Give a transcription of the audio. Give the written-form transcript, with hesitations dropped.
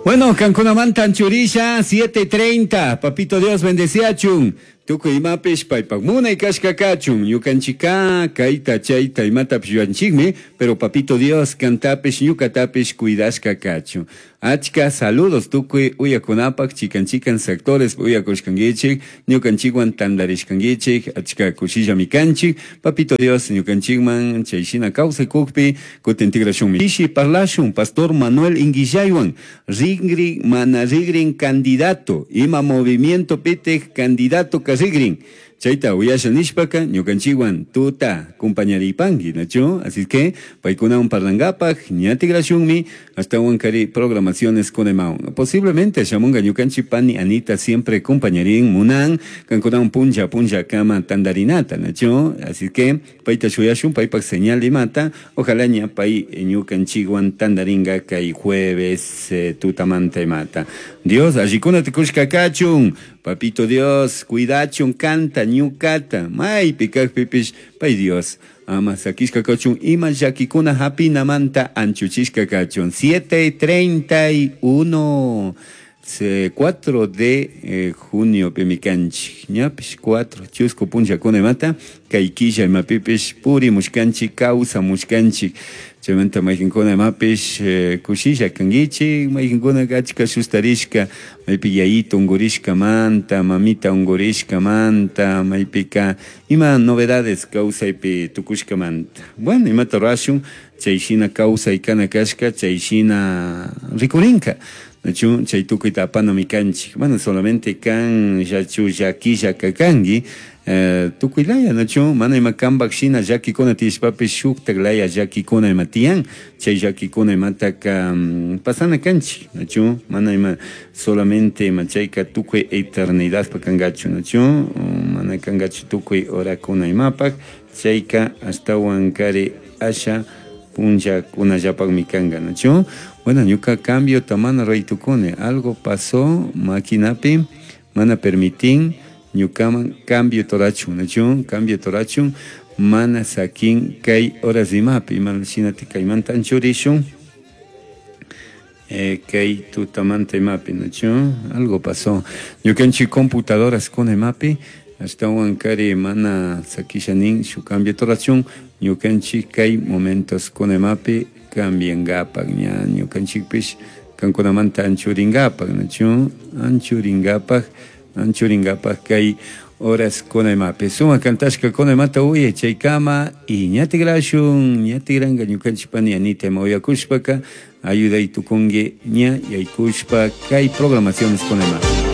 Bueno, kankunamanta anchurisha 7:30. Papito Dios bendeciachun. Tukuy imapish paypak munay kashka kachun. Ñukanchika kayta chayta imatapish yuyanchikmi, pero Papito Dios kantapish ñukatapish cuidashka kachun. Achka saludos tukuy uyakunapak chikan chikan sectores uyakushkankichik, ñukanchikwan tantarishkankichik, achka kushillami kanchik. Papito Dios ñukanchikman chayshina kawsakukpi kutin tikrashunmi. Pishi parlashun Pastor Manuel Inguillaywan Rigrin mana rigrin candidato, ima movimiento pitik candidato ka rigrin. Chayta uyasha nishpaka ñukanchikwan tuta compañaripanki, nachu? Así que paykunawan parlankapak ña tikrashunmi ashtawan kari programaciones kunaymawan. Posiblemente shamunga ñukanchik pani Anita siempre compañarin munan kankunawan punlla punlla kama tandarinata, nachu? Así que payta shuyashun paypak señal imata, ojalá ña pay ñukanchikwan tandaringa kay jueves tutamanta imata. Dios allikunata kushka kachun, Papito Dios cuidachun kanta ñukata, maypi kakpipish pay Dios ama sakishka kachun ima llakikuna hapinamanta anchuchishka kachun. 7:31 4 de junio pimi kanchik, ñapish 4 chusku punllakuna imata kay killa imapipish purimushkanchik kawsamushkanchik. Chaymanta mayqinkuna imapish kushilla kankichik, mayqinkunaka achka sustarishka, maypi yayito unkurishkamanta, mamita unkurishkamanta, maypika ima novedades kawsaypi tukushkamanta. Bueno, imata rurashun, chay shina kawsay kana kashka, chay shina rikurinka. Nachu chay tukuyta apanami kanchik, mana solamente kan llachu llakilla kanki, tukuy laya nachu mana ima kanpak shina llakikuna tiyashpapish shuktak laya llakikuna ima tiyan, chay llakikuna imataka pasana kanchik, nachu mana ima solamente ima chayka tukuy eternidadpak kankachu, nachu mana kankachu tukuy horakuna imapak, chayka ashtawan kari asha punllakunallapakmi kanka, nachu. Bueno, ñuka cambiota mana ruray tukuni, algo pasó maquinapi, mana permitin ñukaman cambio torachun, nachu cambio torachun, mana sakin kay horas imapi, ima shinati kaymanta anchurishun, kay tutamanta imapi, nachu algo pasó. Ñukanchik computadoras kuna imapi, ashtawan kari mana sakisha nin shu cambio torachun, ñukanchik kay momentos kuna imapi cambiangapak, ña ñukanchikpish kankunamanta anchuringapak, nachu anchuringapak, anchuringapak kay horas kuna imapi. Sumak kantashka kuna imata uyay chaykama y ña tikrashun, ña tikranka ñukanchik pani Anita ima uyakushpaka ayuday tukunki ña yaykushpa kay programaciones kuna imapi.